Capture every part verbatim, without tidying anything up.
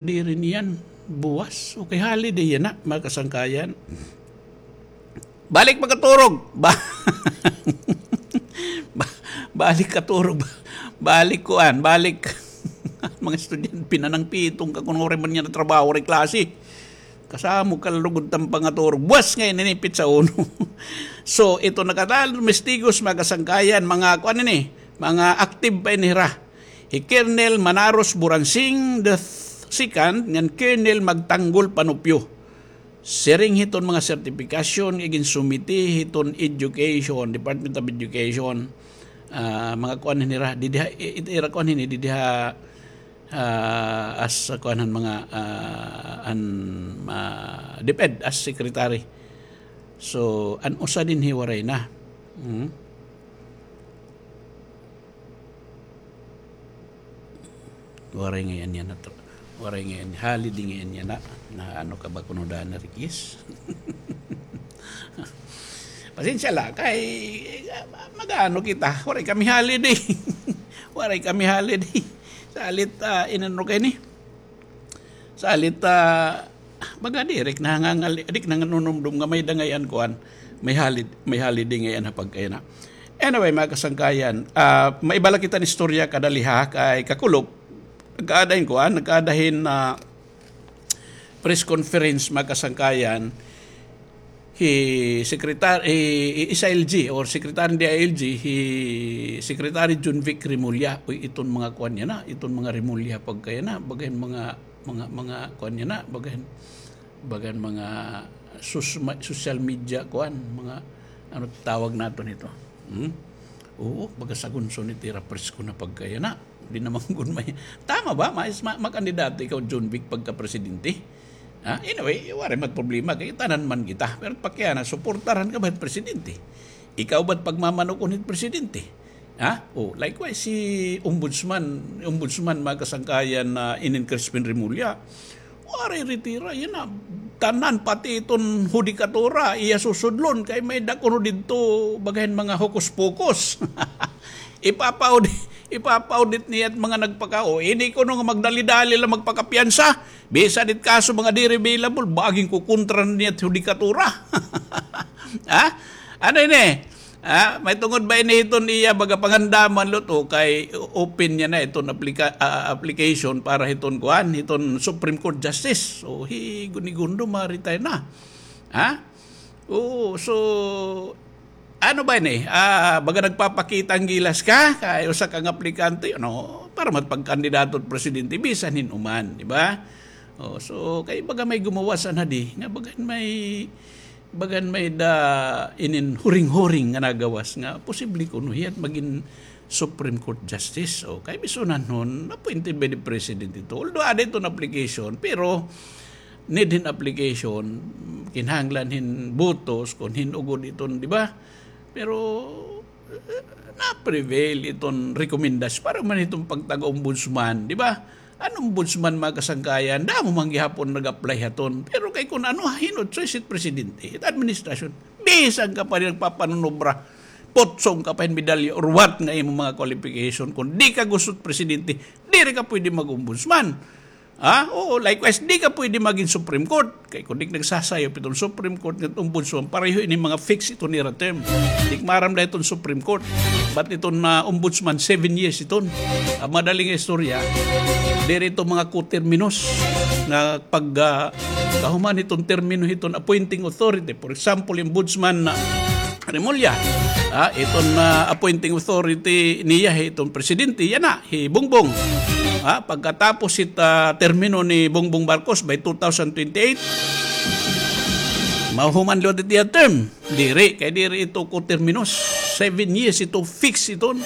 Diri niyan buwas. Okay, holiday yana, mga kasangkayan. Balik pagkaturog. Ba-, ba-, balik katurog. Balik kuan, balik. Mga estudyante, pinanangpitong ka kun waray man yana trabaho, waray klase. Kasamo ka lugod ta nga pangaturog. Buwas ngay-an ini, petsa uno. So, ito nakadal, testigos, mga kasangkayan, mga kuan ini, mga active pa ini hira. Hi Colonel Manaros Buransing the second ngan Colonel Magtanggol Panupyo. Siring hiton mga sertifikasyon nga ginsumiti hiton education, Department of Education. Ah, mga kuan hini hira, didi ha, i-, i-, ira kuan hini, didi ha, ah, as kuan han mga, ah, an, ah, DepEd as secretary. So, an usa dinhi waray na. Hmm? Waray ngay-an yana, waray ngay-an, holiday ngay-an yana. Na ano ka ba kuno, Dana Riquez? Pasensya la, kay, ah, mag-ano kita, waray kami holiday. Waray kami holiday. Salit, ah, inano kay ni? Salit, ah, baga diri ak nahangangal-, diri ak nanganunumdom nga may-ada ngay-an kuan, may halid-, may holiday ngay-an ha pagkayana. Anyway, mga kasangkayan, ah, maiba la kita hin istorya kadali ha, kay kakulop, nagkaada hin kuan, nagkaada hin, ah, press conference, mga kasangkayan, hi Secretary, hi, hi S I L G or Secretary hin D I L G, hi Secretary Jonvic Remulla. Uy, iton mga kuan yana, iton mga Remulla pagkayana, baga hin mga, mga, mga kuan yana, baga hin, baga hin mga sus-, ma-, social media kuan, mga ano tawag naton hito. Hmm? Oo, baga sagunson it ira presko na pagkayana. Di naman gud may, tama ba? Mais-, ma-, makandidato ikaw, Jonvic, pagka-presidente? Ha? Anyway, waray man problema, kay tanan man kita. Pero pakiana, suportaran ka ba hit presidente? Ikaw ba't pagmamanukon hit presidente? Ha? Oh, likewise, si Ombudsman, Ombudsman, mga kasangkayan, na inin Crispin Remulla, waray retira, yana. Tanan, pati iton hudikatura, iya susudlon, kay may-ada kuno didto, baga hin mga hokus-pokus. Ipapa-audit, ipapa-audit niya it mga nagpaka-, o, ini kuno nga magdali-dali la magpakapiyansa. Bisan it kaso mga diri available, baga hin kukontra niya it hudikatura. Ha? Ano ini? Ha? May tungod ba ini hiton iya baga pangandaman, Lot, o kay open niya na iton aplika-, ah, application para hiton kuan, hiton Supreme Court Justice. So, hi Gunigundo ma-retire na. Ha? Oo, so, ano ba ini? Ah, baga nagpapakita hin gilas ka, kay usa ka nga aplikante, ano, para man pagkandidato presidente, bisan hin-o man, di ba? Oh, so, kay baga may gumawas anhadi, nga baga may, baga may-ada inin huring-huring nga nagawas, nga posible kuno hiya it magin Supreme Court Justice. O, kay bisan han-on, appointed by the President ito. Although, ada iton application, pero need hin application, kinahanglan hin botos, kon hin-o gud iton, di ba? Pero, eh, na-prevail iton rekomendasyon. Para man iton pagtaga-ombudsman, di ba? An ombudsman, mga kasangkayan, damo man gihapon nag-apply haton. Pero kay kun ano, hin-o it choice it presidente, it administrasyon, bisan ka pa nagpapanunobra, putsong ka pa hin medalya or what nga imo mga qualification, kun di ka gusto it presidente, diri ka pwede mag-ombudsman. Ha? Oo, likewise, di ka pwede magin Supreme Court. Kay kun di ka nagsasayop iton Supreme Court ngan ombudsman, pareho ini mga fixed iton ira term. Di ka maaram la iton Supreme Court. But iton, ah, ombudsman, seven years iton. An madali nga istorya, diri iton mga coterminous nga pag, ah, kahuman iton termino hiton appointing authority. For example, ombudsman na Remulla. Ah, iton, ah, appointing authority niya, iton presidente, yana, hi Bongbong. Ah, pagkatapos it, ah, termino ni Bongbong Marcos by two thousand twenty-eight, mahuman liwat it iya term. Diri, kay diri ito coterminous. Seven years ito, fix iton.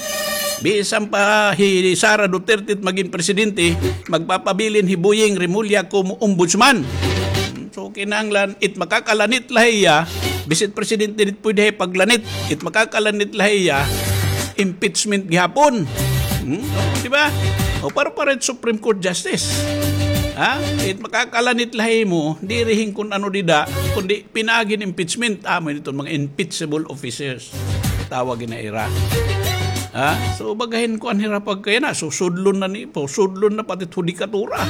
Bisan pa hi Sara Duterte it magin presidente, magpapabilin hi Boying Remulla komo ombudsman. So, kinahanglan, it makakalanit la hiya, bisan presidente di pwede hiya paglanit, it makakalanit la hiya, impeachment gihapon. Hmm? Di ba? O, para, para it Supreme Court Justice. Ha? It makakalanit la himo, diri hin kun ano dida, kundi pinaagi hin impeachment, amo iton mga impeachable officers. Tawag na ira. Ha? So, baga hin kuan hira pagkayana, so, sudlon na ni, po, sudlon na pati it hudikatura.